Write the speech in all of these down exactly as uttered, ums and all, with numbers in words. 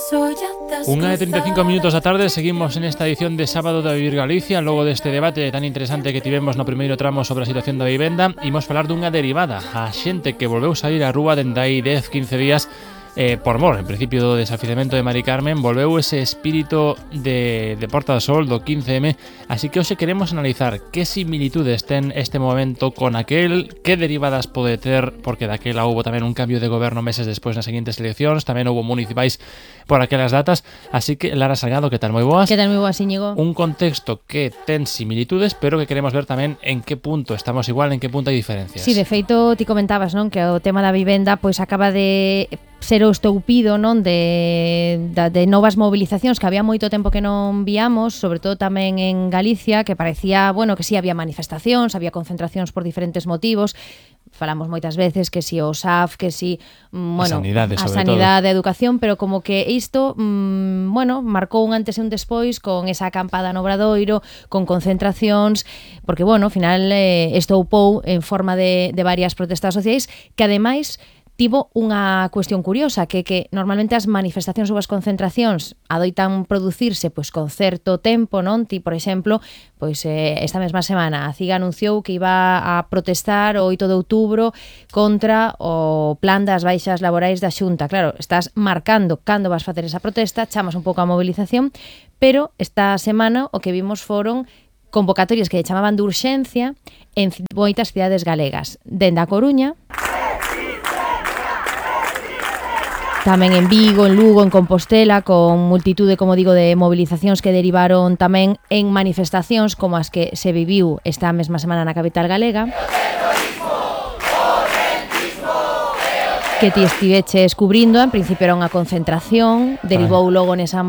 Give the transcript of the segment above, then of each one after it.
Unha de treinta e cinco minutos da tarde, seguimos en esta edición de Sábado da Vivir Galicia. Logo deste debate tan interesante que tivemos no primeiro tramo sobre a situación da vivenda, imos falar dunha derivada, a xente que volveu sair á rúa dende aí dez, quince días eh, por mor, en principio do desafiamento de Mari Carmen. Volveu ese espírito de, de Porta do Sol do quince eme, así que hoxe queremos analizar que similitudes ten este momento con aquel, que derivadas pode ter, porque daquela houbo tamén un cambio de goberno meses despois nas seguintes eleccións, tamén houbo municipais por aquelas datas, así que Lara Salgado, que tal, moi boas? Que tal, moi boas, Íñigo? Un contexto que ten similitudes, pero que queremos ver tamén en que punto estamos igual, en que punto hai diferencias. Sí, de feito, ti comentabas, non, que o tema da vivenda pois acaba de ser o estoupido, non, de, de, de novas movilizacións que había moito tempo que non víamos, sobre todo tamén en Galicia, que parecía, bueno, que sí había manifestacións, había concentracións por diferentes motivos. Falamos moitas veces que si o S A F, que si, bueno, a sanidade, a sanidade, a educación, pero como que isto, mmm, bueno, marcou un antes e un despois con esa acampada no Obradoiro, con concentracións, porque, bueno, ao final eh, estoupou en forma de, de varias protestas sociais que, ademais, tivo unha cuestión curiosa, que que normalmente as manifestacións ou as concentracións adoitan producirse pois con certo tempo, non? Ti, por exemplo, pois eh, esta mesma semana a CIGA anunciou que iba a protestar o oito de outubro contra o plan das baixas laborais da Xunta. Claro, estás marcando cando vas facer esa protesta, chamas un pouco a movilización, pero esta semana o que vimos foron convocatorias que chamaban de urxencia en moitas cidades galegas, dende a Coruña, tamén en Vigo, en Lugo, en Compostela, con multitude, como digo, de movilizacións que derivaron tamén en manifestacións como as que se viviu esta mesma semana na capital galega. Que ti estiveches cubrindo, en principio era unha concentración, derivou logo nesa,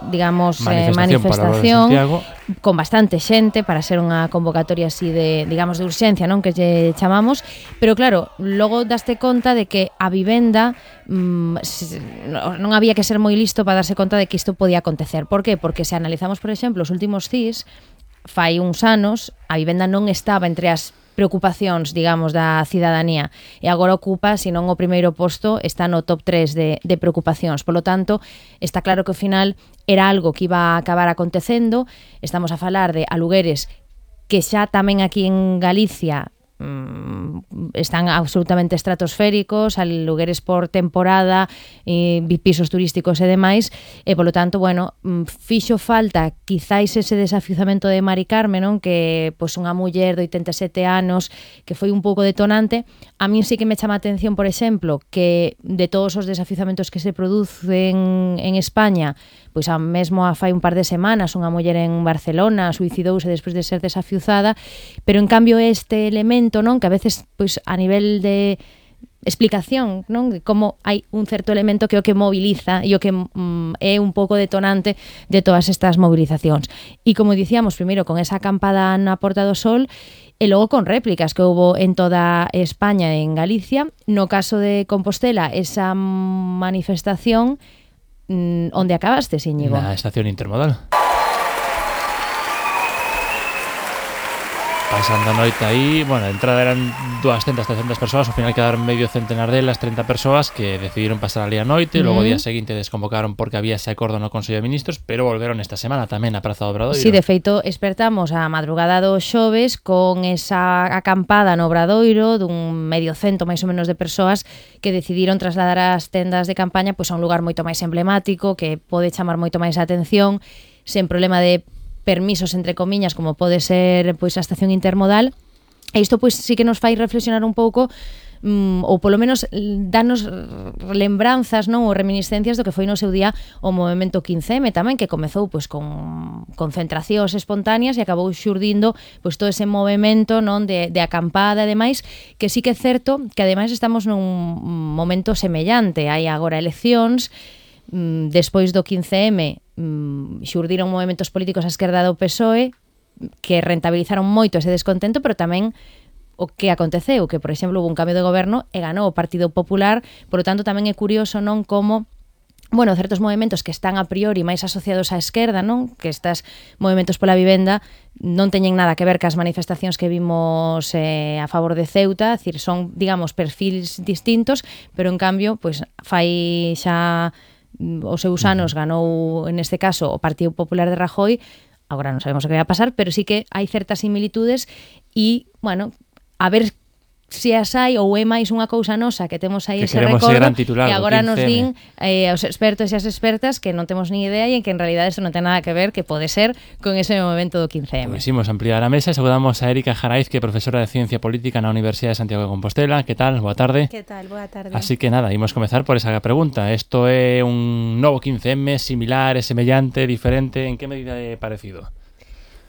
digamos, manifestación, eh, manifestación con bastante xente para ser unha convocatoria así de, digamos, de urxencia, non, que lle chamamos, pero claro, logo daste conta de que a vivenda mmm, non había que ser moi listo para darse conta de que isto podía acontecer. Por qué? Porque se analizamos, por exemplo, os últimos C I S, fai uns anos, a vivenda non estaba entre as preocupacións, digamos, da cidadanía, e agora ocupa, se non o primeiro posto, está no top tres de, de preocupacións. Por lo tanto, está claro que ao final era algo que iba a acabar acontecendo. Estamos a falar de alugueres que xa tamén aquí en Galicia están absolutamente estratosféricos, alugueres por temporada, e pisos turísticos e demais, e polo tanto, bueno, fixo falta quizáis ese desafiuzamento de Mari Carmen, non, que pois unha muller de oitenta e sete anos que foi un pouco detonante. A min sí que me chama a atención, por exemplo, que de todos os desafiuzamentos que se producen en España, pois a mesmo a fai un par de semanas unha muller en Barcelona suicidouse despois de ser desafiuzada, pero en cambio este elemento, non, que a veces pois a nivel de explicación, non, de como hai un certo elemento que é o que moviliza e o que mm, é un pouco detonante de todas estas movilizacións. E como dicíamos, primeiro con esa acampada na Porta do Sol e logo con réplicas que houbo en toda España e en Galicia. No caso de Compostela, esa manifestación mm, onde acabaste, Íñigo? Na estación intermodal. Pasando a noite aí, bueno, a entrada eran doscientas, trescentas persoas, ao final quedaron medio centenar delas, treinta persoas que decidiron pasar ali a noite, uh-huh. Logo o día seguinte desconvocaron porque había ese acordo no Consello de Ministros, pero volveron esta semana tamén a Praza do Obradoiro. Sí, de feito, espertamos a madrugada do xoves con esa acampada no Obradoiro dun medio cento máis ou menos de persoas que decidiron trasladar as tendas de campaña pois a un lugar moito máis emblemático, que pode chamar moito máis a atención, sen problema de permisos, entre comiñas, como pode ser pois a estación intermodal. E isto pois sí que nos fai reflexionar un pouco, mm, ou polo menos danos lembranzas, non, ou reminiscencias do que foi no seu día o movemento quince eme tamén, que comezou pois con concentracións espontáneas e acabou xurdindo pois todo ese movemento, non, de, de acampada e demais, que sí que é certo que ademais estamos nun momento semellante. Hai agora eleccións, mm, despois do quince eme mm, xurdiron movementos políticos á esquerda do P S O E que rentabilizaron moito ese descontento, pero tamén o que aconteceu, que, por exemplo, houve un cambio de goberno e ganou o Partido Popular. Por lo tanto, tamén é curioso, non, como bueno, certos movementos que están a priori máis asociados á esquerda, non, que estes movementos pola vivenda non teñen nada que ver cas manifestacións que vimos eh, a favor de Ceuta, é dicir, son, digamos, perfils distintos, pero en cambio, pois fai xa os seus anos ganou, en este caso, o Partido Popular de Rajoy. Agora non sabemos o que vai a pasar, pero sí que hai certas similitudes e, bueno, a ver se as hai ou é máis unha cousa nosa que temos aí que ese recordo titular, e agora nos din eh, os expertos e as expertas que non temos ni idea e en que en realidad isto non ten nada que ver, que pode ser con ese movimento do quince eme. Pois imos ampliar a mesa e saludamos a Erika Jaraiz, que é profesora de Ciencia Política na Universidade de Santiago de Compostela. Que tal? Boa tarde. Que tal? Boa tarde. Así que nada, imos comezar por esa pregunta. Isto é un novo quince eme, similar, é semellante, diferente? En que medida é parecido?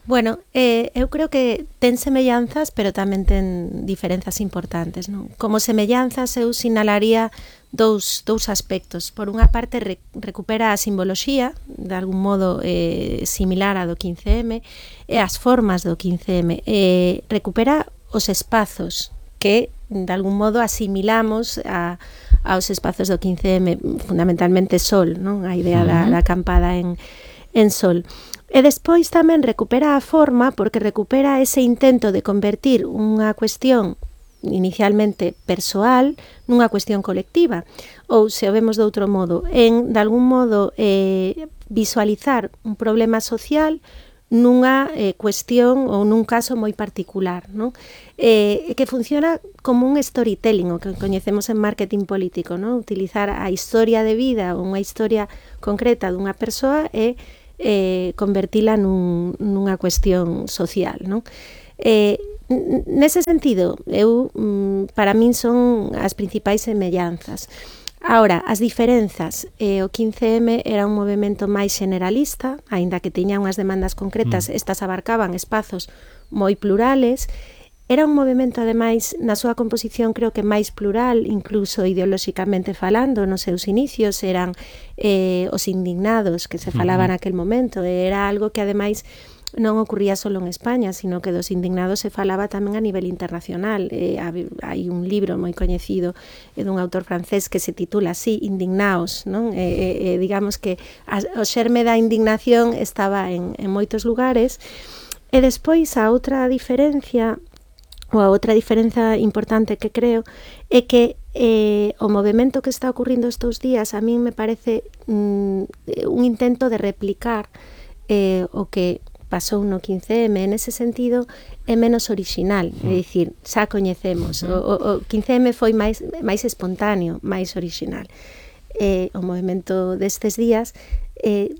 Bueno, eh, eu creo que ten semellanzas, pero tamén ten diferenzas importantes, non? Como semellanzas eu sinalaría dous, dous aspectos. Por unha parte, re, recupera a simboloxía, de algún modo eh, similar a do quince eme, e as formas do quince eme. Eh, recupera os espazos que, de algún modo, asimilamos a, aos espazos do quince eme, fundamentalmente Sol, non? A idea da, da acampada en, en Sol. E despois tamén recupera a forma porque recupera ese intento de convertir unha cuestión inicialmente persoal nunha cuestión colectiva, ou se o vemos de outro modo, en, de algún modo, eh, visualizar un problema social nunha eh, cuestión ou nun caso moi particular, non? Eh, que funciona como un storytelling, o que coñecemos en marketing político, non? Utilizar a historia de vida ou unha historia concreta dunha persoa e eh, convertila nun, nunha cuestión social, non? Eh, nese sentido, eu, para min son as principais semellanzas. Ahora, as diferenzas, eh, o quince eme era un movimento máis generalista, aínda que tiña unhas demandas concretas, mm. estas abarcaban espazos moi plurales. Era un movimento, ademais, na súa composición creo que máis plural, incluso ideolóxicamente falando, nos seus inicios eran eh, os indignados que se falaban uh-huh. naquel momento, era algo que ademais non ocurría só en España, sino que dos indignados se falaba tamén a nivel internacional. Eh, hai un libro moi coñecido eh, dun autor francés que se titula así, Indignaos, non? Eh, eh, digamos que a, o xerme da indignación estaba en, en moitos lugares. E despois a outra diferencia ou a outra diferenza importante que creo é que eh, o movimento que está ocurrindo estes días a mí me parece mm, un intento de replicar eh, o que pasou no quince eme. En ese sentido é menos orixinal, é dicir, xa coñecemos, o, o, o quince eme foi máis, máis espontáneo, máis orixinal. Eh, o movimento destes días eh,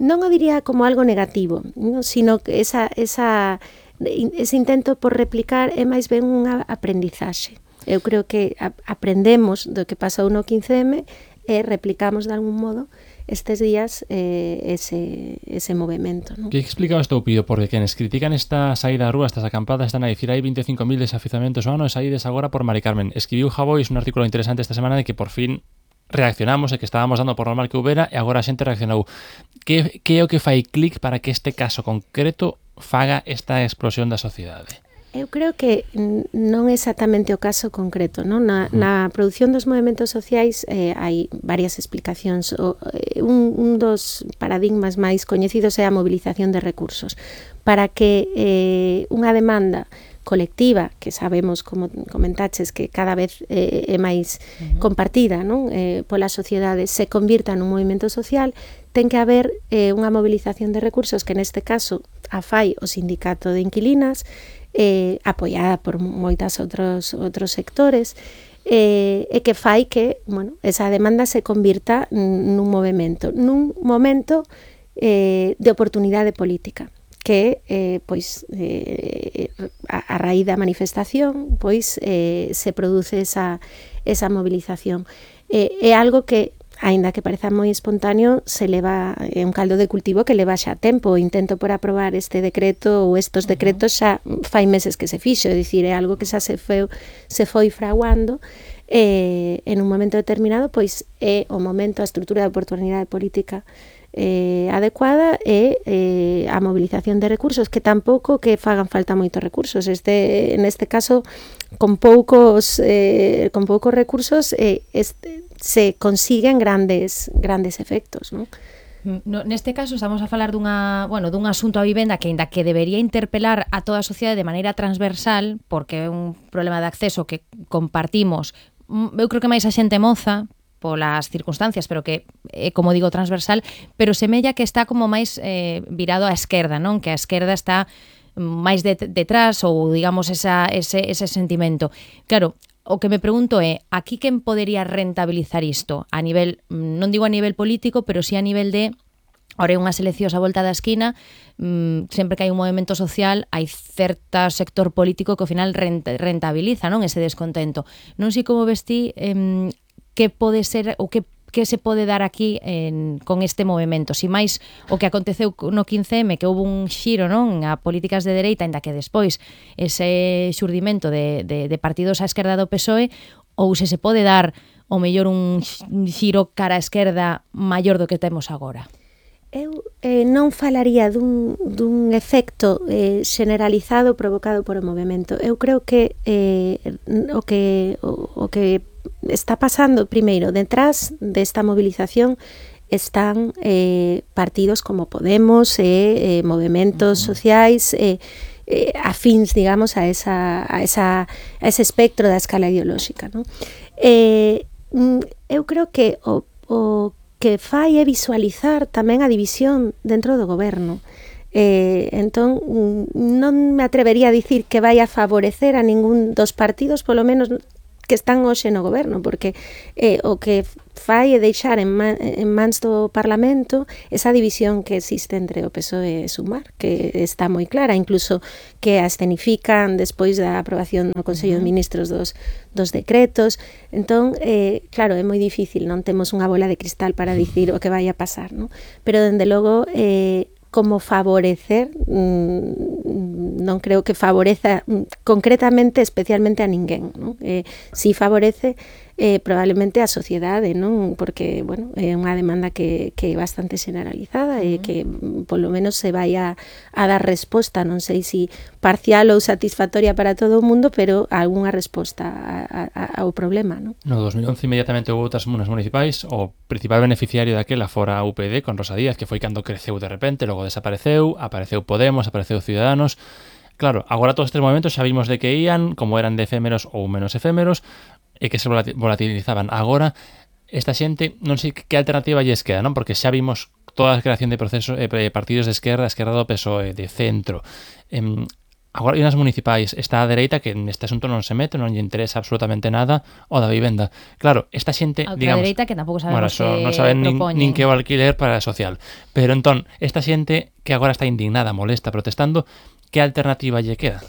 non o diría como algo negativo, no? Sino que esa, esa ese intento por replicar é máis ben unha aprendizaxe. Eu creo que a, aprendemos do que pasou no quince eme e replicamos de algún modo estes días eh, ese, ese movimento, ¿no? Que explica isto, Pido? Porque quenes critican esta saída á rúa, estas acampadas, están a dicir hai veinticinco mil desafiuzamentos ao ano e saídes agora por Mari Carmen. Escribiu Javois un artículo interesante esta semana de que por fin reaccionamos e que estábamos dando por normal que houbera e agora a xente reaccionou. Que, que é o que fai clic para que este caso concreto faga esta explosión da sociedade? Eu creo que non é exactamente o caso concreto, non? Na, na produción dos movimentos sociais eh, hai varias explicacións. O, eh, un, un dos paradigmas máis coñecidos é a mobilización de recursos. Para que eh, unha demanda colectiva, que sabemos, como comentaches, que cada vez eh, é máis uh-huh. compartida, non? Eh, pola sociedade, se convirta nun movimento social, ten que haber eh, unha mobilización de recursos que neste caso a fai o sindicato de inquilinas, eh, apoiada por moitas outros, outros sectores, eh, e que fai que, bueno, esa demanda se convirta nun movimento, nun momento eh, de oportunidade política, que eh, pois eh, a, a raíz da manifestación pois eh, se produce esa, esa movilización. Eh, é algo que, aínda que pareza moi espontáneo, se leva, é un caldo de cultivo que leva xa tempo. O intento por aprobar este decreto ou estos decretos xa fai meses que se fixo, é dicir, é algo que xa se foi, se foi fraguando. Eh, en un momento determinado, pois é o momento, a estrutura de oportunidade política eh, adecuada e eh, a mobilización de recursos, que tampouco que fagan falta moitos recursos. Este, en este caso, con poucos eh, con poucos recursos eh, este, se consiguen grandes grandes efectos, non? No, neste caso estamos a falar dunha, bueno, dun asunto a vivenda que aínda que debería interpelar a toda a sociedade de maneira transversal, porque é un problema de acceso que compartimos, eu creo que máis a xente moza, polas circunstancias, pero que é, como digo, transversal, pero semella que está como máis eh, virado á esquerda, non? Que a esquerda está máis de, detrás ou, digamos, esa, ese, ese sentimento. Claro, o que me pregunto é, aquí quen podería rentabilizar isto? A nivel, non digo a nivel político, pero sí a nivel de ora hai unhas eleccións á volta da esquina, mmm, sempre que hai un movimento social hai certo sector político que ao final rentabiliza, non, ese descontento. Non sei como vestí eh, que pode ser ou que que se pode dar aquí en, con este movimento. Si máis o que aconteceu no quince eme, que houve un xiro, non, a políticas de dereita, ainda que despois ese xurdimento de, de, de partidos á esquerda do P S O E, ou se se pode dar o mellor un xiro cara á esquerda maior do que temos agora. Eu eh, non falaría dun, dun efecto eh, generalizado provocado por o movimento. Eu creo que eh, o que o, o que está pasando primeiro detrás desta movilización están eh, partidos como Podemos e eh, eh, movimentos uh-huh. sociais eh, eh, afins, digamos, a, esa, a, esa, a ese espectro da escala ideolóxica, non? Eh, eu creo que o, o que fai é visualizar tamén a división dentro do goberno. Eh, entón, non me atrevería a dicir que vai a favorecer a ningún dos partidos, polo menos que están hoxe no goberno, porque eh, o que fai é deixar en, man, en mans do Parlamento esa división que existe entre o P S O E e Sumar, que está moi clara, incluso que a escenifican despois da aprobación no Consello de Ministros dos, dos decretos. Entón, eh, claro, é moi difícil, non temos unha bola de cristal para dicir o que vai a pasar, non? Pero, dende logo, eh, como favorecer, mmm, non creo que favoreza mm, concretamente, especialmente a ninguén, non? Eh, si favorece eh, probablemente a sociedade, non? Porque, bueno, é unha demanda que, que é bastante generalizada e que mm, polo menos se vai a, a dar resposta, non sei si parcial ou satisfactoria para todo o mundo, pero algunha resposta a, a, ao problema, non? No dos mil once inmediatamente houve outras comunas municipais, o principal beneficiario daquela fora a U P D con Rosa Díaz, que foi cando creceu de repente, logo desapareceu, apareceu Podemos, apareceu Ciudadanos. Claro, agora todos estes movimentos xa vimos de que ían, como eran de efémeros ou menos efémeros, e que se volatilizaban. Agora, esta xente, non sei que alternativa lles queda, non? Porque xa vimos toda a creación de procesos, eh, partidos de esquerda, esquerda do P S O E, de centro. Eh, agora hai unhas municipais, está a dereita que neste asunto non se mete, non lle interesa absolutamente nada o da vivenda. Claro, esta xente, a digamos, dereita que tampouco sabemos bueno, que non saben nin, nin que o alquiler para a social. Pero entón, esta xente que agora está indignada, molesta, protestando, que alternativa lle queda?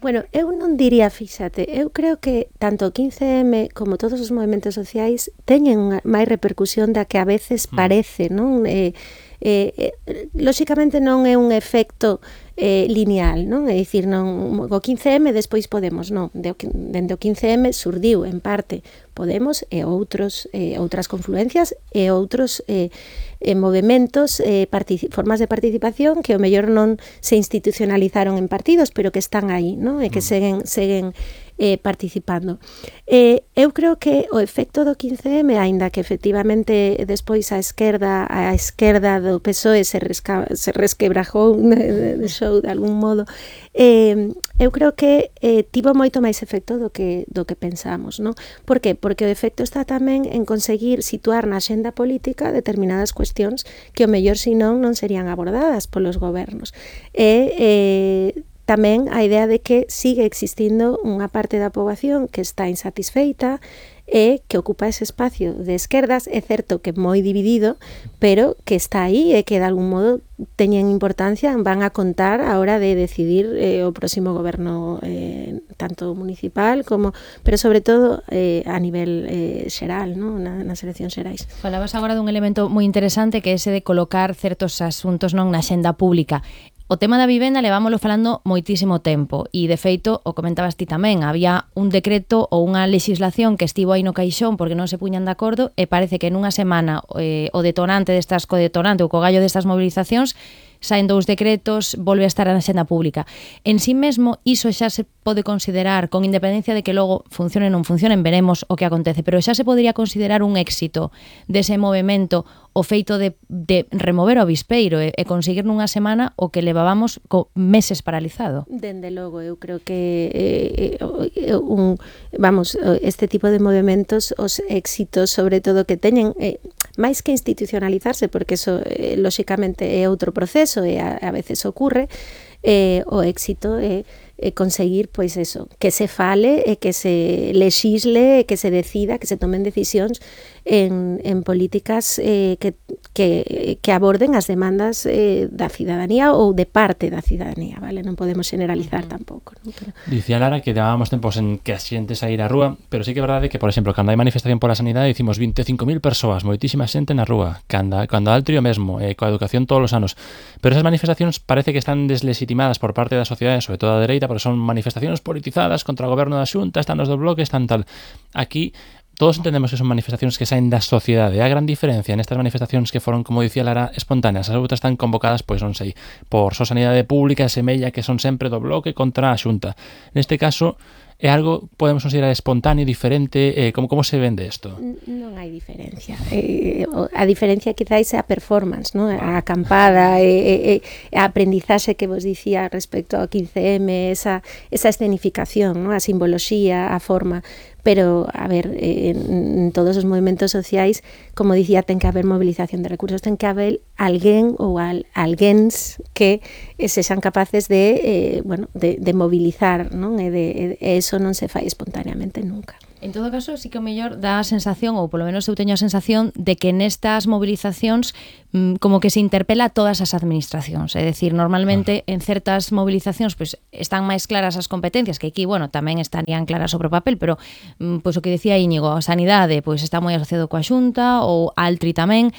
Bueno, eu non diría, fíxate, eu creo que tanto o quince eme como todos os movimentos sociais teñen máis repercusión da que a veces parece, non? Eh, eh, eh, lóxicamente non é un efecto eh, lineal, non? É dicir, non, o quince eme despois Podemos, non, dende o quince eme surdiu en parte Podemos e outros eh, outras confluencias e outros eh, eh, movimentos, eh, formas de participación que o mellor non se institucionalizaron en partidos, pero que están aí, non? E que seguen seguen eh, participando. Eh, eu creo que o efecto do quince eme, aínda que efectivamente despois a esquerda a esquerda do P S O E se, resca, se resquebrajou de, de show de algún modo, eh, eu creo que eh, tivo moito máis efecto do que, do que pensamos, non? Por que? Porque o efecto está tamén en conseguir situar na axenda política determinadas cuestións que o mellor senón non serían abordadas polos gobernos. E eh, tamén a idea de que sigue existindo unha parte da poboación que está insatisfeita e que ocupa ese espacio de esquerdas, é certo que moi dividido, pero que está aí e que de algún modo teñen importancia, van a contar a hora de decidir eh, o próximo goberno eh, tanto municipal como, pero sobre todo eh, a nivel eh, xeral, ¿no? Na, nas eleccións xerais. Falabas agora dun elemento moi interesante que é ese de colocar certos asuntos non na xenda pública. O tema da vivenda levámoslo falando moitísimo tempo e, de feito, o comentabas ti tamén, había un decreto ou unha legislación que estivo aí no caixón porque non se puñan de acordo e parece que nunha semana eh, o detonante destas, co detonante ou co gallo destas movilizacións saen dous decretos, volve a estar na xenda pública. En sí mesmo, iso xa se pode considerar, con independencia de que logo funcione ou non funcionen, veremos o que acontece, pero xa se podría considerar un éxito dese movimento o feito de, de remover o avispeiro e, e conseguir nunha semana o que levábamos co meses paralizado. Dende logo, eu creo que eh, un, vamos, este tipo de movimentos, os éxitos sobre todo que teñen, eh, máis que institucionalizarse, porque eso eh, lóxicamente é outro proceso e a, a veces ocurre, eh, o éxito é eh, conseguir, pois eso, que se fale e que se lexisle, que se decida, que se tomen decisións en, en políticas eh, que, que, que aborden as demandas eh, da cidadanía ou de parte da cidadanía, vale? Non podemos generalizar uh-huh. tampouco, non? Pero... Dicía Lara que dábamos tempos en que a xente saír á rúa, pero sí que é verdade que, por exemplo, cando hai manifestación pola sanidade dicimos veinticinco mil persoas, moitísima xente na rúa, cando, cando hai trío mesmo, eh, coa educación todos os anos, pero esas manifestacións parece que están deslegitimadas por parte da sociedade, sobre todo a dereita, porque son manifestacións politizadas contra o goberno da Xunta, están os do bloque, están tal. Aquí todos entendemos que son manifestacións que saen da sociedade. A gran diferencia nestas manifestacións que foron, como dicía Lara, espontáneas, as outras están convocadas, pois non sei, por Só Sanidade Pública e Semella, que son sempre do bloque contra a Xunta. Neste caso, é algo, podemos considerar espontáneo, diferente, eh, como, como se vende isto? Non hai diferencia. Eh, a diferencia quizáis é a performance, ¿no? A acampada, e, e, a aprendizaxe que vos dicía respecto ao quince eme, esa, esa escenificación, ¿no? A simboloxía, a forma. Pero, a ver, en, en todos os movimentos sociais, como dicía, ten que haber movilización de recursos, ten que haber alguén ou al, alguéns que se xan capaces de, eh, bueno, de, de movilizar, non? E, de, e eso non se fai espontáneamente nunca. En todo caso, sí que o mellor dá a sensación, ou polo menos eu teño a sensación, de que nestas movilizacións mmm, como que se interpela a todas as administracións. É dicir, normalmente claro. En certas movilizacións pues, están máis claras as competencias, que aquí, bueno, tamén estarían claras sobre o papel, pero mmm, pues, o que decía Íñigo, a sanidade pues, está moi asociado coa Xunta, ou Altri tamén.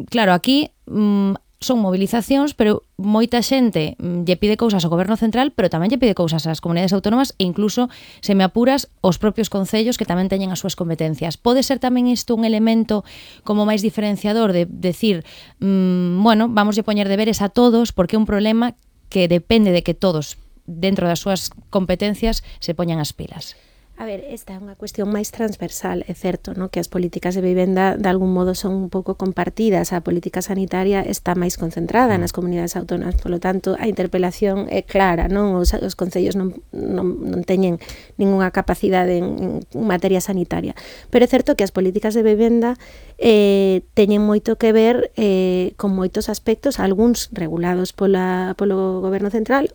Claro, aquí... Mmm, son movilizacións, pero moita xente lle pide cousas ao goberno central, pero tamén lle pide cousas ás comunidades autónomas e incluso, se me apuras, os propios concellos que tamén teñen as súas competencias. Pode ser tamén isto un elemento como máis diferenciador de decir, mmm, bueno, vamos a poñer deberes a todos porque é un problema que depende de que todos, dentro das súas competencias, se poñan as pilas. A ver, esta é unha cuestión máis transversal, é certo, no? Que as políticas de vivenda de algún modo son un pouco compartidas, a política sanitaria está máis concentrada nas comunidades autónomas, polo tanto a interpelación é clara, non? Os, os concellos non, non, non teñen ningunha capacidade en, en materia sanitaria, pero é certo que as políticas de vivenda eh, teñen moito que ver eh, con moitos aspectos, algúns regulados pola, polo goberno central,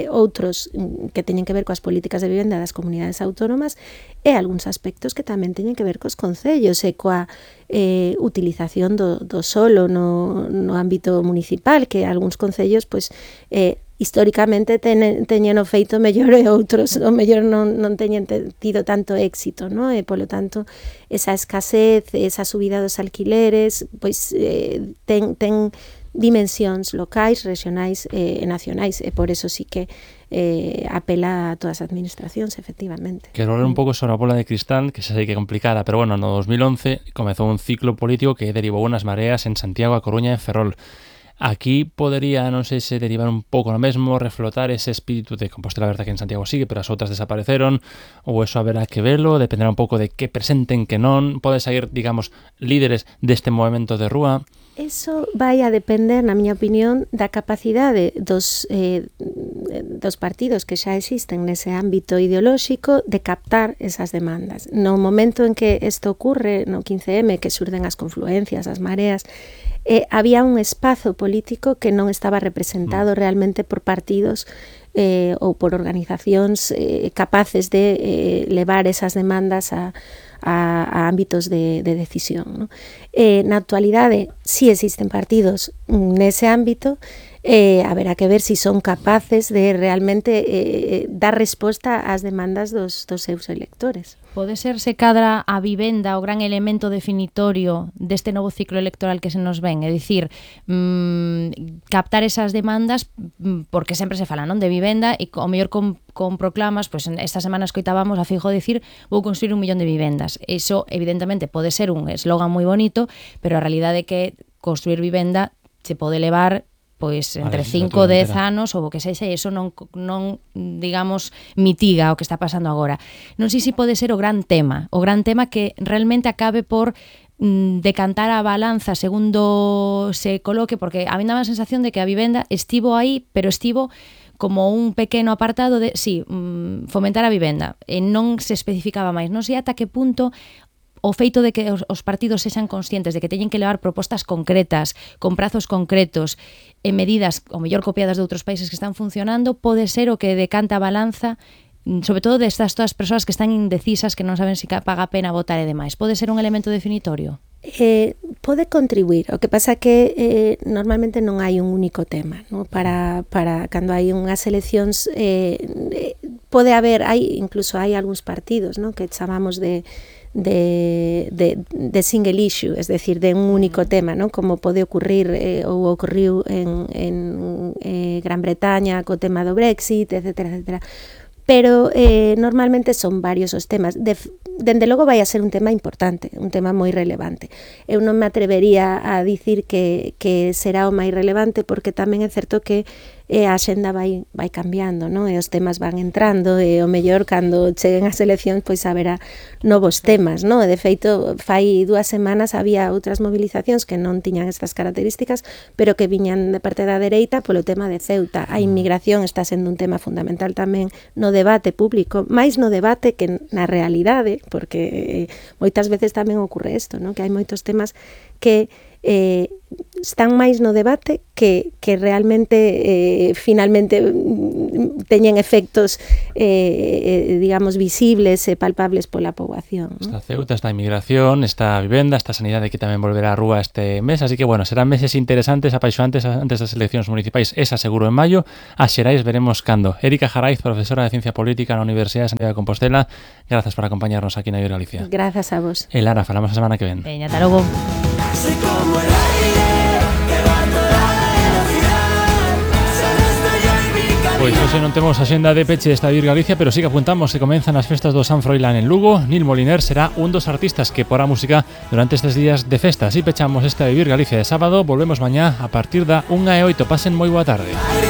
outros que teñen que ver coas políticas de vivenda das comunidades autónomas e algúns aspectos que tamén teñen que ver cos concellos e coa eh, utilización do, do solo no, no ámbito municipal, que algúns concellos pois, eh, históricamente ten, teñen o feito mellor e outros o mellor non, non teñen tido tanto éxito, no? E polo tanto esa escasez, esa subida dos alquileres pois eh, ten, ten dimensións locais, regionais e eh, nacionais, e por eso sí que eh, apela a todas as administracións, efectivamente. Quero ler un pouco sobre a bola de cristal, que xa sei que é complicada, pero bueno, no dos mil once comezou un ciclo político que derivou unhas mareas en Santiago, A Coruña e Ferrol. Aquí podería, non sei se derivar un pouco no mesmo, reflotar ese espírito de Compostela, a verdade que en Santiago sigue, pero as outras desapareceron, ou eso haberá que verlo, dependerá un pouco de que presenten, que non, pode sair, digamos, líderes deste movimento de rúa. Eso vai a depender, na miña opinión, da capacidade dos, eh, dos partidos que xa existen nese ámbito ideolóxico de captar esas demandas. No momento en que isto ocurre, no quince eme, que surden as confluencias, as mareas, eh, había un espazo político que non estaba representado realmente por partidos eh, ou por organizacións eh, capaces de eh, levar esas demandas a A, a ámbitos de, de decisión, ¿no? Eh, na actualidade, si existen partidos nese ámbito, eh, haberá que ver si son capaces de realmente eh, dar resposta ás demandas dos, dos seus electores. Pode ser se cadra a vivenda o gran elemento definitorio deste novo ciclo electoral que se nos ven, é dicir, mmm, captar esas demandas, porque sempre se fala, non, de vivenda, e o mellor con, con proclamas, pois pues, esta semana escoitábamos a Feijóo dicir vou construir un millón de vivendas. Eso, evidentemente, pode ser un eslogan moi bonito, pero a realidade é que construir vivenda se pode levar pois entre cinco e dez anos ou o que sexa, e iso non, non, digamos, mitiga o que está pasando agora. Non sei se pode ser o gran tema, o gran tema que realmente acabe por mm, decantar a balanza segundo se coloque, porque a mí dá a sensación de que a vivenda estivo aí, pero estivo como un pequeno apartado de, sí, mm, fomentar a vivenda, e non se especificaba máis. Non sei ata que punto o feito de que os, os partidos sexan conscientes de que teñen que levar propostas concretas, con prazos concretos, e medidas, o mellor copiadas de outros países que están funcionando, pode ser o que decanta a balanza, sobre todo destas todas as persoas que están indecisas, que non saben se paga a pena votar e demais. Pode ser un elemento definitorio? Eh, pode contribuir, o que pasa que eh, normalmente non hai un único tema, ¿no? Para, para cando hai unhas eleccións eh, pode haber, hai incluso hai algúns partidos, ¿no? Que chamamos de De, de, de single issue, es decir, de un único tema, ¿no? Como pode ocurrir eh, ou ocorriu en, en eh, Gran Bretaña co tema do Brexit, etcétera, etcétera. Pero eh, normalmente son varios os temas. De, dende logo vai a ser un tema importante, un tema moi relevante. Eu non me atrevería a dicir que, que será o máis relevante, porque tamén é certo que e a xenda vai, vai cambiando, non? E os temas van entrando, e o mellor cando cheguen as eleccións pois haberá novos temas, non? E de feito, fai dúas semanas había outras movilizacións que non tiñan estas características, pero que viñan de parte da dereita polo tema de Ceuta. A inmigración está sendo un tema fundamental tamén no debate público, máis no debate que na realidade, porque moitas veces tamén ocorre isto, non? Que hai moitos temas que eh, están máis no debate que, que realmente eh, finalmente teñen efectos eh, digamos visibles e palpables pola poboación, ¿no? Está Ceuta, está a inmigración, está a vivenda, está a sanidade que tamén volverá á rúa este mes, así que bueno, serán meses interesantes, apaixonantes antes das eleccións municipais, esa seguro en maio. As xerais veremos cando. Erika Jaraiz, profesora de Ciencia Política na Universidade de Santiago de Compostela, grazas por acompañarnos aquí na Iber Galicia. Grazas a vos. E Lara, falamos a semana que ven. Veña, ata logo. Soy como el aire que va a toda velocidad. Solo estoy en mi camino. Pois hoxe non temos axenda de peche desta Iber Galicia, pero sí que apuntamos que comenzan as festas do San Froilán en Lugo. Nil Moliner será un dos artistas que porá música durante estes días de festa. Así pechamos esta Iber Galicia de sábado. Volvemos mañá a partir da unha e oito. Pasen moi boa tarde.